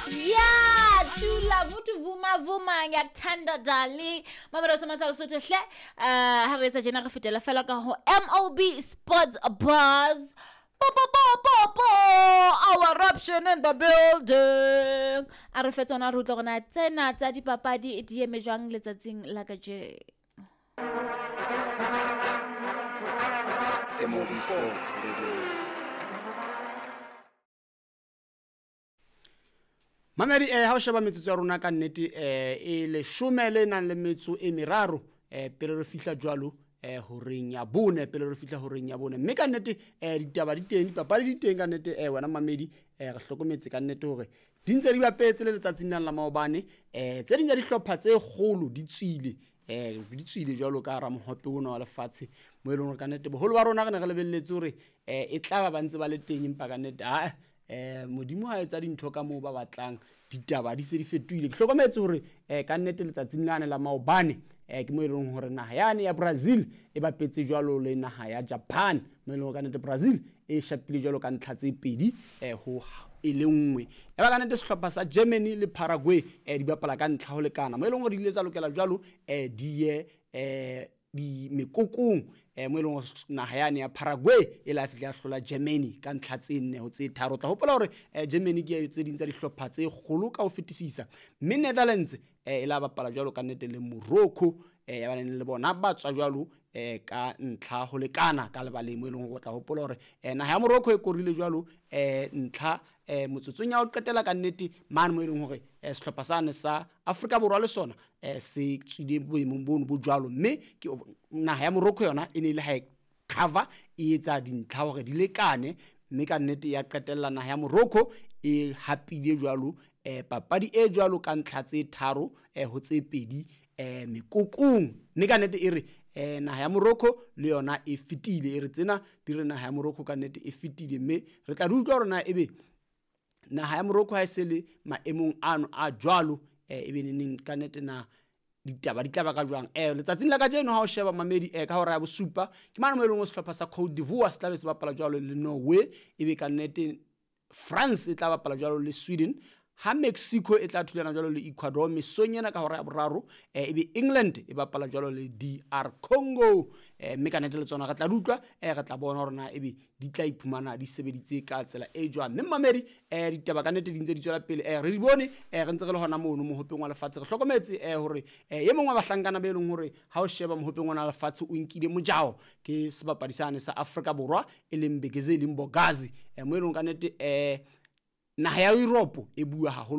Ya thula futhi vuma vuma ngiyakuthanda dali. Mamelo sa masala Sotho hle. Ha re etsa tjena re fetela fela ka ho MOB Sports Buzz. Po po po po po. Our eruption in the building. A re fe tsona re utlwe gore na tsena tsa dipapadi di eme jwang letsatsing la kajeno. MOB Sports Release. Mamedi ha o sheba metsotso ya rona ka nnete e leshome le nang le metso e meraro pele re fihla jwalo horeng ya bone, pele re fihla horeng ya bone. Mme ka nnete ditaba di teng, dipapadi di teng ka nnete wena mamedi re hlokometse ka nnete hore di ntse di bapetse le letsatsing lena la maobane. Tse ding tsa dihlopha tse kgolo di tswile, di tswile jwalo ka hara mohope ona wa lefatshe, mo e leng hore ka nnete boholo ba rona re ne re lebelletse hore e tla ba ba ntse ba le teng, empa ka nnete ha Modimo ha etsa dintho ka moo ba batlang, ditaba di se di fetohile. Ke hlokometse hore ka nnete letsatsing lane la maobane ke mo e leng hore naha yane ya Brazil e bapetse jwalo le naha ya Japan, mo e leng hore ka nnete Brazil e shapile jwalo ka ntlha tse pedi ho e le nngwe. Ya ba ka nnete sehlopha sa Germany le Paraguay di bapala ka ntlha ho lekana, mo e leng hore di ile tsa lokela jwalo di ye di mekokong mo e leng hore naha yane ya Paraguay e la fihla ya hlola Germany ka ntlha tse nne ho tse tharo. O tla hopola hore Germany ke tse ding tsa dihlopha tse kgolo ka ho fetisisa, mme Netherlands e la bapala jwalo ka nnete le Morocco ya ba le bona ba tswa jwalo ka ntlha ho lekana ka lebaleng, mo e leng hore o tla hopola hore naha ya Morocco e korile jwalo ntlha motsotsong ya ho qetela ka nnete mane, mo e leng hore sehlopha sane sa Afrika Borwa le sona se tswile boemong bono bo jwalo, mme ke naha ya Morocco yona e ne e le ha e cover e etsa dintlha hore di lekane, mme ka nnete ya qetella naha ya Morocco e hapile jwalo papadi e jwalo ka ntlha tse tharo ho tse pedi mekokong. Mme ka nnete e re naha ya Morocco le yona e fetile, e re tsena di re naha ya Morocco ka nnete e fetile, mme re tla di utlwa hore na ebe naha ya Morocco ha e se le maemong ano a jwalo ebe neneng ka nnete na ditaba di tla ba ka jwang. Letsatsing la kajeno ha o sheba mamedi ka hora ya bosupa ke mane mo e leng hore sehlopha sa Cote d'Ivoire se tla be se bapala jwalo le Norway, ebe ka nnete France e tla bapala jwalo le Sweden, ha Mexico e tla thulana jwalo le Ecuador mesong ena ka hora ya boraro, ebe England e bapala jwalo le DR Congo. Mme ka nnete le tsona re tla di utlwa, re tla bona hore na ebe di tla iphumana di sebeditse ka tsela e jwang. Mme mamedi ditaba ka nnete di ntse di tswela pele, re di bone re ntse re le hona mono mohopeng wa lefatshe. Re hlokometse hore e mong wa bahlankana be leng hore ha o sheba mohopeng wa lefatshe o nkile mojao ke sebapadi sane sa Afrika Borwa e leng Mbekezeli Mbokazi, mo e leng ka nnete naha ya Europe e bua haholo.